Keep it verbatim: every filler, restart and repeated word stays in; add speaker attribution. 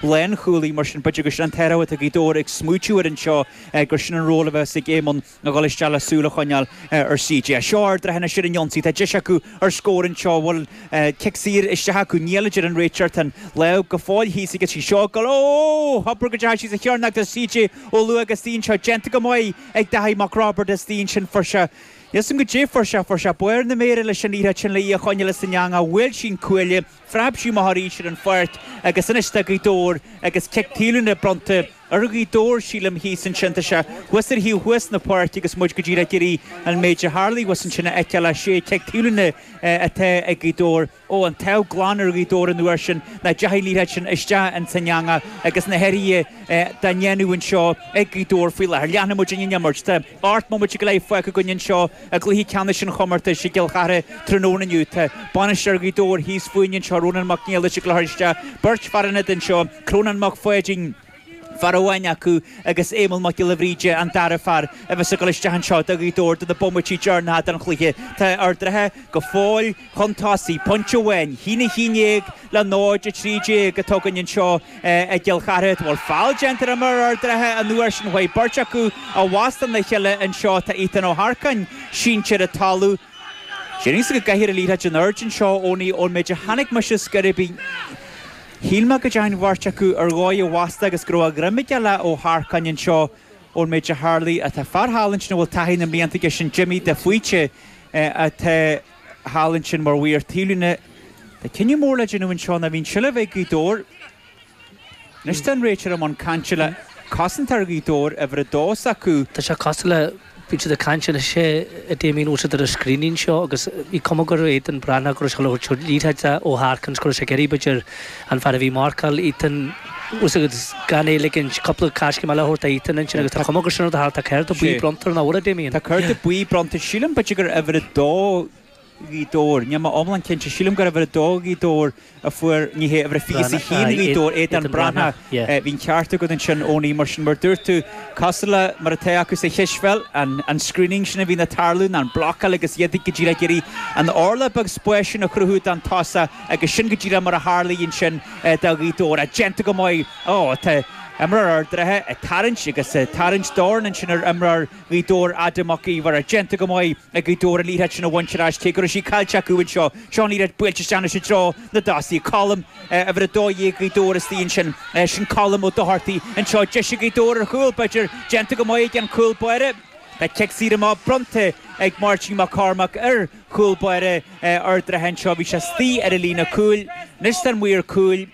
Speaker 1: Lánchúlaí, mar sin b'fhéidir gur sin an t-athrú atá Gaoth Dobhair ag smaoitiú air anseo, gur sin an ról a bheas ag Éamonn a dhul isteach le súil a choinneáil ar C J. Seo Ard an Rátha anois ar an ionsaí, tá deis acu ar scór anseo, bhfuil cic saor isteach acu? Níl, a deir an réiteoir, tá an lámh go fóill thíos aige, sí seo ag dul, ó! Abair go dteachaigh sí sa chearnóg do C J Ó Luaig istigh anseo, déanta go maith ag Daithí Mac Roibeaird istigh ansin, fuair sé, níl 's agam goidé fuair sé, fuair sé barr na méire leis an liathróid sin le í a choinneáil san eangach, bhuail sí an cuaille, phreab sí amach arís ar an pháirc agus anois tá Gaoth Dobhair agus cic taobhlíne bronnta ar Ghaoth Dobhair, sílim, thíos ansin. Tá sé thuas ar thaobh thuas na páirce agus muid go díreach ag iarraidh an méid a tharlaigh thuas ansin a fheiceáil. Sé cic taobhlíne atá ag Gaoth Dobhair. Ó, an t-ádh glan ar Ghaoth Dobhair an uair sin nach dteachaigh an liathróid sin isteach ins an eangach agus na hathruithe dá ndéanamh anseo ag Gaoth Dobhair faoi láthair. Leanfaidh muid an imirt. Tá ocht mbomaite go leith fágtha againn anseo i gcluiche ceannais an chomórtais i gCill Chartha tráthnóna inniu. Tá bainisteoir Ghaoth Dobhair thíos fúinn anseo, Rónán Mac Niallais, ag cur isteach beirt fear ionaid anseo, Crónán Mac Pháidín, fear amháin acu, agus Éamonn Mac Giolla Bhríde, an dara fear a bheas ag dul isteach anseo do Ghaoth Dobhair do na bomaití deireanacha den chluiche. Tá Ard an Rátha go fóill chun tosaigh, pointe amháin, a haon a haon déag le náid a trí déag atá againn anseo i gCill Chartha. Bhfuil feall déanta ar imreoir Ard an Rátha an uair sin? Chuaigh beirt acu i bhfastó na chéile anseo. Tá Ethan Ó hEarcáin sínte ar an talamh. Déarfainnse go gcaithfear an liathróid in airde anseo, Owenie, ón méid a chonaic mise scor ar bith. Shíl mé go dteachaigh an bheirt acu ar dhóigh i bhfastó agus go raibh a dhroim aige le Ó hEarcáin anseo ón méid a tharlaigh. Tá fear thall ansin a bhfuil taithí na mblianta aige, sin Jimmy de Faoite atá thall ansin mar mhaor taobhlíne. Tá cinneadh mór le déanamh anseo ná bhí an tseilbh ag Gaoth Dobhair. Anois tá an réiteoir i mbun cainte le cosantóir Ghaoth Dobhair, uimhir a dó s'acu.
Speaker 2: Tá sé cosúil le bíonn siad ag caint anois a Damien, bhfuil siad ar an screening seo agus bhí cuma gur Aidan Breathnach go raibh sé le liathróid ó Harkins go raibh sé ag iarraidh b'fhéidir an fear a bhí marcáil Ethan agus gan é ligint cúpla coiscéim eile a thabhairt do Ethan ansin agus tá cuma gur sin rud a tharla. Tá cárta buí bronnta ar an ábhar, a Damien.
Speaker 1: Tá cárta buí bronnta, sílim, b'fhéidir gur uimhir a dó Ghaoth Dobhair, níl mé iomlán cinnte, sílim gur uimhir a dó Ghaoth Dobhair a fuair, ní hé, uimhir a fiche is a haon Ghaoth Dobhair, Aidan Breathnach. Bhí an ceart agat ansin, Owenie, mar sin, mar dúirt tú, cosúil le mar atá acu sa chispheil, an an screening sin a bhíonn ag tarlú, ná an blocáil agus iad go díreach ag iarraidh an orlach beag spáis sin a chruthú don tosach agus sin go díreach mar a tharlaigh ansin do Ghaoth Dobhair. Déanta go maith. Ó, tá imreoir Ard an Rátha ag tarraingt agus ag tarraingt dorn ansin ar imreoir Ghaoth Dobhair, Adam Mac Íomhair. Déanta go maith ag Gaoth Dobhair an liathróid sin a bhaint ar ais, cé go raibh sí caillte acu anseo. Seo an liathróid buailte isteach anois i dtreo na dtosaithe. Colm, uimhir a dó dhéag Ghaoth Dobhair istigh ansin. Sin Colm Ó Dochartaigh anseo. Deis ag Gaoth Dobhair ar chúl, b'fhéidir. Déanta go maith ag an chúl báire. Tá cic saor amach bronnta ag Máirtín Mac Cormaic ar chúl báire Ard an Rátha anseo. Bhí sé istigh ar an líne cúil. Anois tá an maor cúil.